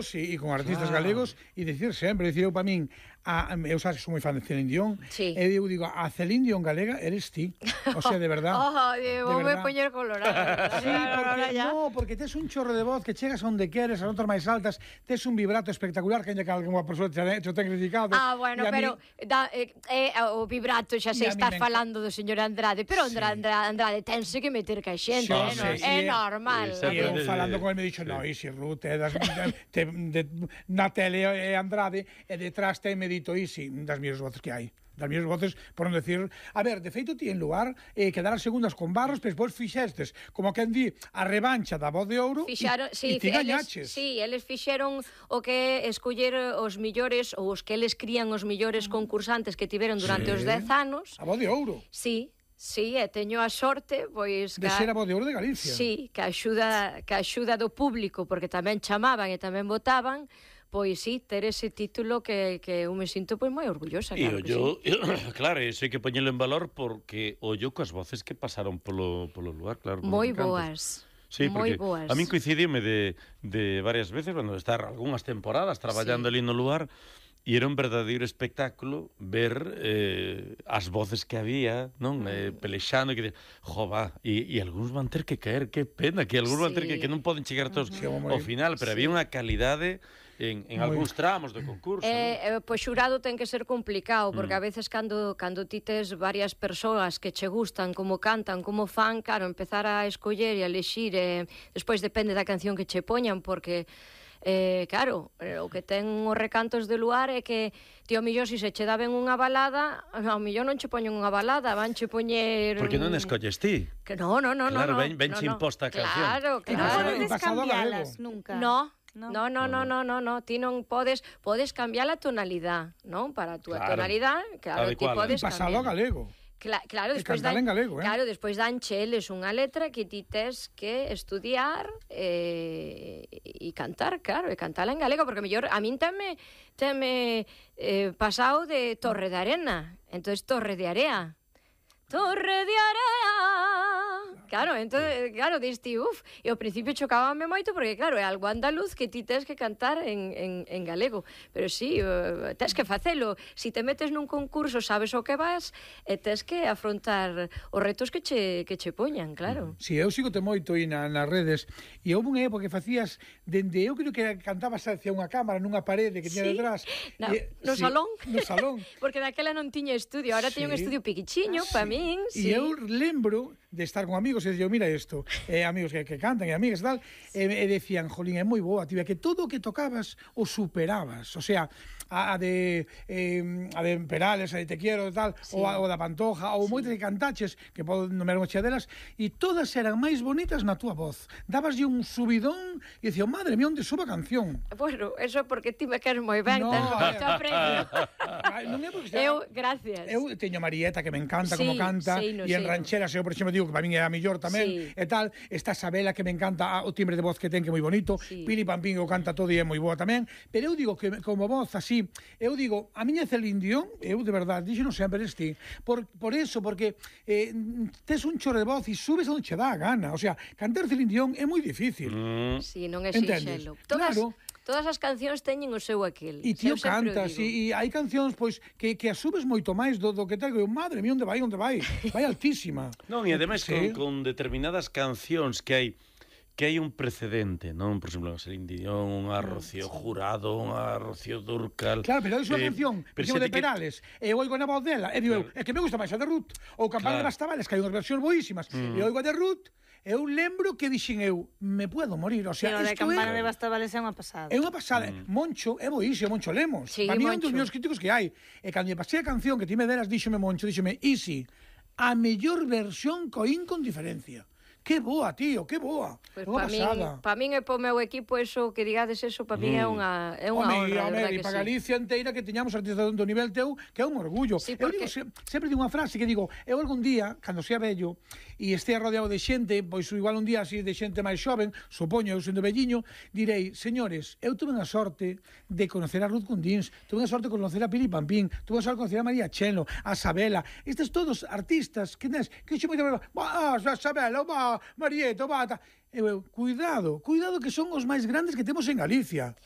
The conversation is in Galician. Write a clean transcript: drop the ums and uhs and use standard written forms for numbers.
Sí, e con artistas galegos e dicir sempre, dicir eu para min, eu sabes que sou moi fan de Celine Dion, sí. E eu digo, a Celine Dion galega eres ti, o sea, de verdad. Vou me poñer colorado. Sí, porque tes un chorro de voz que chegas onde queres, as notas máis altas, tes un vibrato espectacular que ainda que alguma persoa te ten criticado. Bueno, pero o vibrato xa se está falando do señor Andrade, pero Andrade tense que meter ca xente, é normal. E eu falando con ele me dixo, no, Isi Ruth, na tele é Andrade, e detrás te me dito Isi, das miñas voces que hai. Das miñas voces, por non decir... A ver, de feito, ti en lugar quedar as segundas con Barros, pero despois fixestes, como quen di, a revancha da Voz de Ouro, e ti gañaches. Sí, eles fixeron o que escoller os millores, ou os que eles crían os millores concursantes que tiveron durante os 10 anos. A Voz de Ouro. Sí, e teño a sorte, pois... De ser a Voz de Ouro de Galicia. Sí, que axuda do público, porque tamén chamaban e tamén votaban, pois sí, ter ese título que eu me sinto pois moi orgullosa, claro que sí. Claro, iso hai que poñelo en valor porque ollo coas voces que pasaron polo lugar, claro. Moi boas. Sí, porque a min coincidíme de varias veces, cando estar algunhas temporadas traballando ali no lugar, e era un verdadeiro espectáculo ver as voces que había, non? Pelexando, que e algúns van ter que caer, que pena, que algúns van ter que non poden chegar todos ao final, pero había unha calidade en algúns tramos do concurso. Pois xurado ten que ser complicado, porque a veces cando ti tes varias persoas que che gustan, como cantan, como fan, claro, empezar a escoller e a elexir, despois depende da canción que che poñan, porque... claro, o que ten os recantos de luar é que ti ao millor se che daben unha balada, ao millor non che poñen unha balada, van che poñer... Porque non escolles ti. Que no. Claro, ven che imposta a canción. Claro. Non podes cambialas nunca. No, ti non podes cambiar a tonalidade, non? Para a túa tonalidade, claro, ti podes cambiar. Pasalo a galego. Claro, despois dan cheles unha letra que ti tes que estudiar e cantar, claro, e cantala en galego, porque mellor a min teme pasado de Torre de Arena, entonces Torre de Area. Torre de Area. Claro, entonces, diste, e ao principio chocábame moito porque, claro, é algo andaluz que ti tes que cantar en galego, pero sí, tes que facelo. Si te metes nun concurso, sabes o que vas e tes que afrontar os retos que che poñan, claro. Si, eu sigo-te moito aí nas redes, e houve unha época que facías dende, eu creo que cantabas hacia unha cámara nunha parede que tiña detrás. No salón. No salón. Porque daquela non tiña estudio, ahora teño un estudio piquichiño, para min. E eu lembro de estar con amigos e dicir, mira isto, amigos que cantan e amigas e tal, e decían, jolín, é moi boa, tibia, que todo o que tocabas o superabas, o sea, a de Perales, a de Te Quiero e tal, ou da Pantoja, ou moitas que cantaches, que podo nomear unha delas, e todas eran máis bonitas na túa voz. Dabaslle un subidón e dicía, madre mía, onde suba a canción? Bueno, eso porque ti me queres moi ben, tens moito aprendo. Gracias. Eu teño Marieta, que me encanta como canta, e en rancheras eu, por exemplo, digo que para min é a mellor tamén, e tal. Está Sabela, que me encanta o timbre de voz que ten, que é moi bonito. Pili Pampín, que o canta todo e é moi boa tamén. Pero eu digo que como voz así, eu digo, a miña Celine Dion, eu de verdade, dixo non sempre eres ti. Por eso, porque tes un chorro de voz e subes onde che dá a gana. O sea, cantar Celine Dion é moi difícil. Sí, non é sinxelo. Claro. Todas as cancións teñen o seu aquel. E ti o cantas, e hai cancións pois que as subes moito máis do que tal, que madre mía, onde vai? Vai altísima. Non, e ademais con determinadas cancións que hai un precedente, non? Por exemplo, Celine Dion, unha Rocío Jurado, unha Rocío Dúrcal... Claro, pero é unha canción, por exemplo, de Perales, e oigo na voz dela, e digo, é que me gusta máis a de Ruth, ou Campana de Bastavales, que hai unhas versións boísimas, e oigo a de Ruth, eu lembro que dixen eu, me puedo morir, o sea, isto é... Campana de Bastavales é unha pasada. É unha pasada. Moncho, é boísimo, Moncho Lemos. Para mí é un dos meus críticos que hai. E cando me pasei a canción que ti me deras, díxome Moncho, Isi, a mellor versión coín con diferencia. Que boa, tío, que boa. Pois para min e para o meu equipo eso, que digades eso, para min é unha honra, verdad que sí. E para Galicia inteira que teñamos artistas do nivel teu, que é un orgullo. Eu digo, sempre digo unha frase que digo, eu algún día, cando sea vello, e estea rodeado de xente, pois igual un día así de xente máis xoven, supoño eu sendo velliño, direi, señores, eu tuve a sorte de conocer a Ruth Gundins, tuve a sorte de conocer a Pili Pampín, tuve a sorte de conocer a María Chelo, a Sabela, estes todos artistas que xe moito... Sabela, Marieta, cuidado, que son os máis grandes que temos en Galicia.